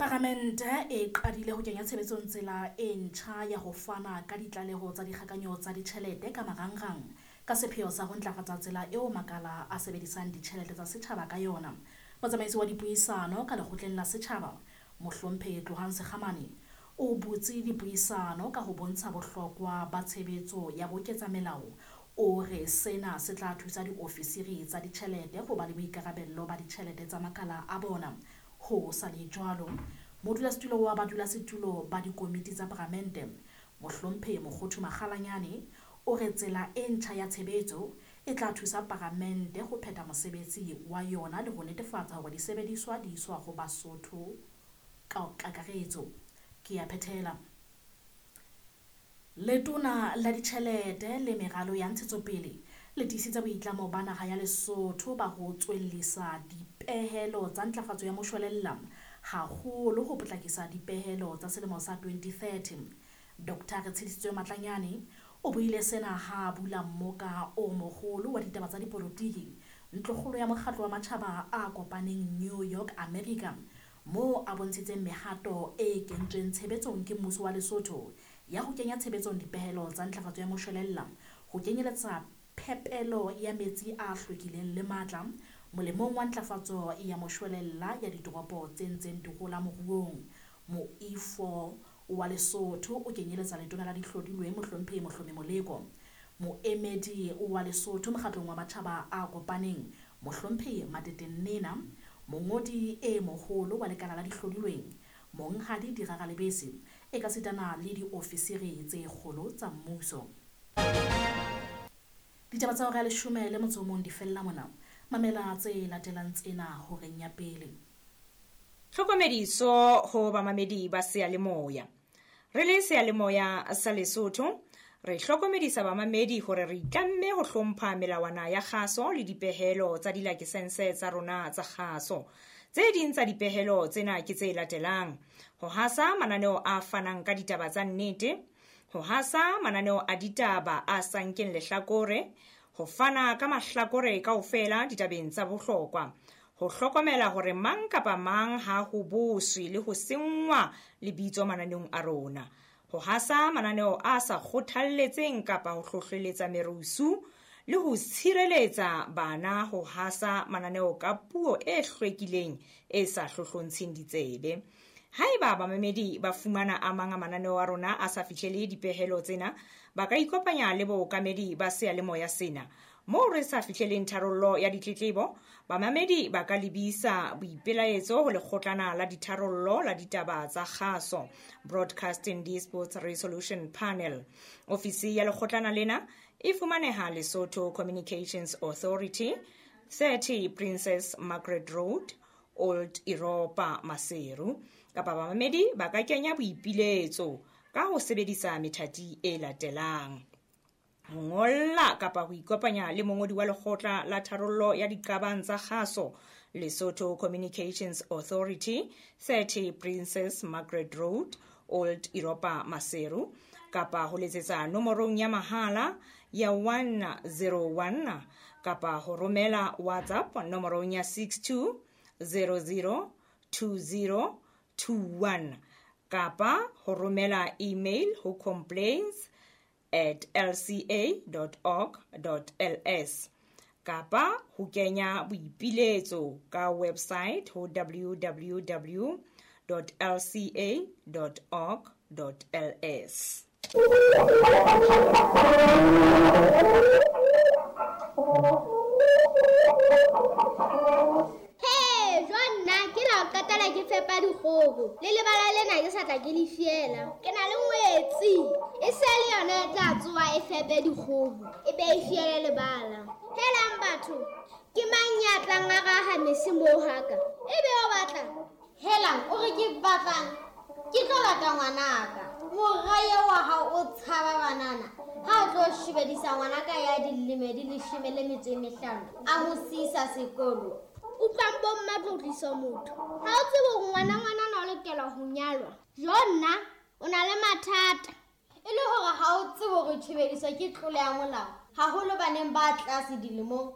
Paramente e qadile ho kenya tshebetsong tsela e ntjha ya ho fana ka ditlaleho tsa dikgakanyo tsa ditjhelete ka marangrang ka sepheo sa ho ntlafatsa tsela eo makala a sebedisang ditjhelete tsa setjhaba ka yona. Motsamaisi wa dipuisano ka lekgotleng la setjhaba, Mohlomphehi Tlohang Sekgamane, o butse dipuisano ka ho bontsha bohlokwa ba tshebetso ya boketsa-melao. O re sena se tla thusa diofisiri tsa ditjhelete ho ba le boikarabello ba ditjhelete tsa makala a bona. Ho sa le jwalo, modulasetulo wa badulasetulo ba dikomiti tsa Paramente, Mohlomphehi Mokhothu Makgalanyane, o re tsela e ntjha ya tshebetso e tla thusa Paramente ho phetha mosebetsi wa yona le ho netefatsa hore disebediswa di iswa ho Basotho ka kakaretso. Ke a phethela. Letona la ditjhelete le meralo ya ntshetsopele le tiisitse boitlamo ba naha ya Lesotho ba ho tswellisa dipehelo tsa ntlafatso ya moshwelella, haholo ho potlakisa dipehelo tsa selemo sa 2030. Dr. Retshedisitswe Matlanyane o buile sena ha a bula mmoka o moholo wa ditaba tsa dipolotiki ntlokgolo ya mokgatlo wa matjhaba a kopaneng New York, America, moo a bontshitseng mehato e kentsweng tshebetsong ke mmuso wa Lesotho ya ho kenya tshebetsong dipehelo tsa ntlafatso ya moshwelella, ho kenyeletsa phepelo ya metsi a hlwekileng le matla molemong wa ntlafatso ya moshwelella ya ditoropo tse ntseng di hola moruong. Moifo wa Lesotho o kenyeletsa letona la dihlodilweng Mohlomphehi Mohlomi Moleko, moemedi wa Lesotho mokgatlong wa matjhaba a kopaneng Mohlomphehi Matete Nnena, mongodi e moholo wa lekala la dihlodilweng Monghadi Dirara Lebese, ekasitana le diofisiri tse kgolo tsa mmuso. Ditaba tsa hora ya 11 di fella mona. Mamela tse latelang tsena horeng ya pele. Tlhokomediso ho bamamedi ba seyalemoya. Re le seyalemoya sa Lesotho, re hlokomedisa bamamedi hore re itlamme ho hlompha melawana ya kgaso le dipehelo tsa dilakesense tsa rona tsa kgaso. Tse ding tsa dipehelo tsena ke tse latelang: ho hasa mananeo a fanang ka ditaba tsa nnete, ho hasa mananeo a ditaba a sa nkeng lehlakore, ho fana ka mahlakore kaofela ditabeng tsa bohlokwa, ho hlokomela hore mang kapa mang ha ho boswe le ho senngwa lebitso mananeong a rona, ho hasa mananeo a sa kgothalletseng kapa ho hlohleletsa merusu, le ho tshireletsa bana ho hasa mananeo ka puo e hlwekileng e sa hlohlontsheng ditsebe. Haeba bamamedi ba fumana a mang a mananeo a rona a sa fihlele dipehelo tsena, ba ka ikopanya le bookamedi ba seyalemoya sena. Moo re sa fihleleng tharollo ya ditletlebo, bamamedi ba ka lebisa boipelaetso ho lekgotlana la ditharollo la ditaba tsa kgaso, Broadcasting Disputes Resolution Panel. Ofisi ya lekgotlana lena e fumaneha Lesotho Communications Authority, 30 Princess Margaret Road, Old Europa, Maseru. Kapa bamamedi ba ka kenya boipiletso ka ho sebedisa methati e latelang: ho ngolla kapa ho ikopanya le mongodi wa lekgotla la tharollo ya diqabang tsa kgaso, Lesotho Communications Authority, 30 Princess Margaret Road, Old Europa, Maseru, kapa ho letsetsa nomorong ya mahala ya 101, kapa ho romela WhatsApp nomorong ya 62 00 20 21, kapa ho romela email ho complaints@lca.org.ls, kapa ho kenya boipiletso ka website ho www.lca.org.ls. He, jwa nna ke la o qetela ke fepa dikgoho. Le lebala lena ke sa tla ke le fiela. Ke na le ngwetsi. E se le yona e tla tsoha e fepe dikgoho, e be e fiele lebala. Helang batho, ke mang ya tlang a raha mese moo haka? E be o batla? Helang, o re ke batlang? Ke tlo lata ngwanaka. Mora eo wa hao o tshaba banana. Ha o tlo shebedisa ngwanaka ya dilemo di 15, a mo siisa sekolo. Utlwang bo mma tlotliso motho. Ha o tsebe hore ngwana ngwanana o lokela ho nyalwa. Jo nna, o na le mathata. E le hore ha o tsebe hore tshebediso ke tlolo ya molao, haholo baneng ba tlase dilemong.